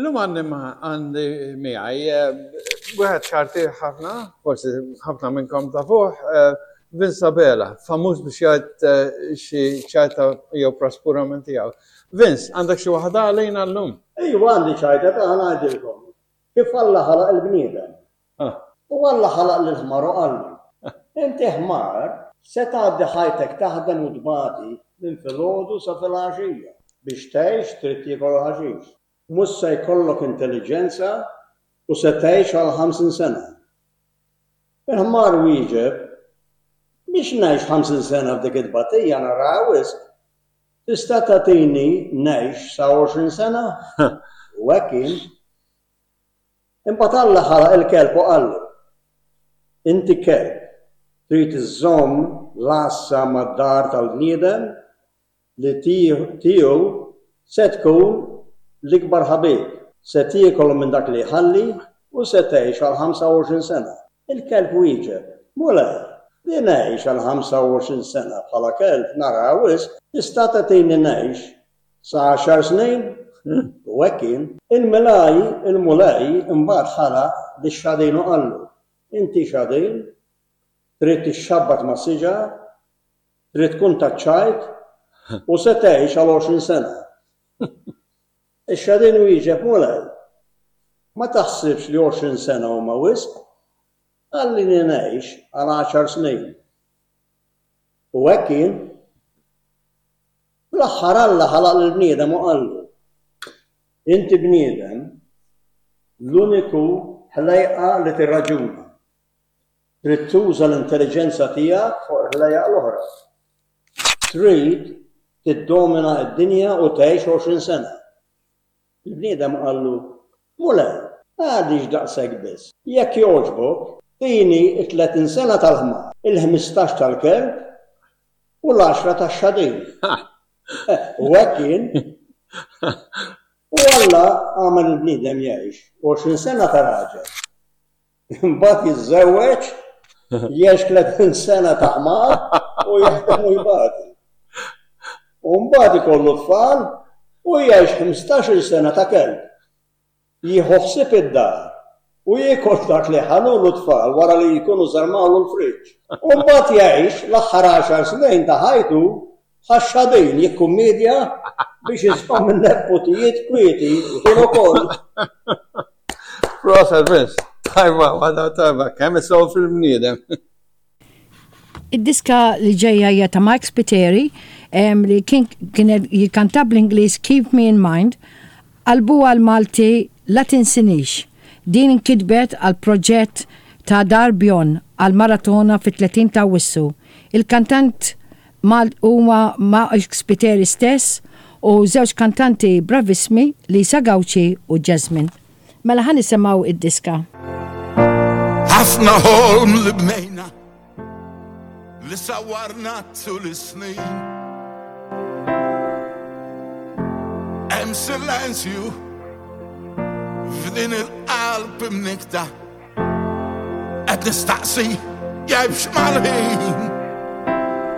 Illum għandi għandi miegħi eh, wieħed ċarti ħafna, forsi ħafna minnkom tafuh, eh, Vince Abela, famuż biex jgħid eh, xi ċajta jew praspura minn tiegħu. Vince, għandek xi waħda għalina llum? Ejwa għandi ċajta ta' ngħidilkom. Kif Alla ħalaq il-bniedem. Ah. U Alla ħalaq lil ħmar u qallu, Inti ħmar se tgħaddi ħajtek taħdem u tbati minn filgħodu sa filgħaxija. Biex tgħix trid tiekol il-ħaxix. Mhux se jkollok intelliġenza u se tgħix għal 50 sena. Il-ħmar wieġeb, Biex ngħix 50 sena f'dik it-tbatija naraha wisq. Tista' tagħtini ngħix sa 20 sena? U hekk kien. Imbagħad Alla ħalaq il-kelb u qallu, Inti kelb, trid iżżomm l-għassa mad-dar tal-bniedem li tiegħu se tkun l-ikbar ħabib, se tiekol minn dak li jħalli u se tgħix għal 25 sena. Il-kelb wieġeb, Mulej, li ngħix għal 25 sena bħala kelb naraha wisq, tista' tagħtini ngħix sa għaxar snin? U hekk kien. Il-Mulej, il-Mulej imbagħad ħalaq lix-xadin u qallu, Inti xadin, trid tixxabbat ma' siġar, Trid tkun taċ-ċajt u se tgħix għal 20 sena. Ix-xadin wieġeb, Mulej, ma taħsibx li 20 sena huma wisq? Ħallini ngħix għal għaxar snin. U hekk kien. Fl-aħħar Alla ħalaq lill-bniedem u qallu, Inti bniedem, l-uniku ħlejqa li tirraġuna. Trid tuża l-intelliġenza tiegħek fuq il-ħlejjaq l-oħra. Trid tiddomina d-dinja u tgħix 20 sena. Il-bniedem qallu, Mulej, għaliex daqshekk biss? Jekk jogħġbok, tini t-30 sena tal-ħmar, il-ħmistax tal-kelb u l-għaxra tax-xadin. U hekk kien. U Alla għamel il-bniedem jgħix 20 sena ta' raġel. Imbagħad jiżżewweġ, jgħix 30 sena ta' ħmar u jaħdem u jbati. U mbagħad ikollu tfal u jgħix 15-il sena ta' kelb. Jieħu ħsieb id-dar u jiekol dak li ħalulu t-tfal wara li jkunu żarmawlu l-friġġ. U mbagħad jgħix l-aħħar għaxar snin ta' ħajtu bħax-xadin jikkummedja biex iżomm in-nepputijiet kwieti kien ukoll. Proset Vince, tajba, waħda tajba, kemm isofri l-bniedem. Id-diska li ġejja hija ta' Mike Spiteri li kien kien jikkanta bl-Ingliż Keep Me in Mind, qalbu għall-Malti La Tinsinix. Din inkitbet għal proġett ta' Dar Bjon għall-maratona fit-30 ta' Awwissu. Il-kantant Mal huma Mike Spiteri stess u żewġ kantanti bravissmi Lisa Gauci u Jasmine. Mela ħa nisimgħu id-diska. Ħafna ħolm li bnejna li sawwarna tul is-snin. Hemm silenzju f'din il-qalb imnikta qed nistaqsi jgħibx mal-ħin.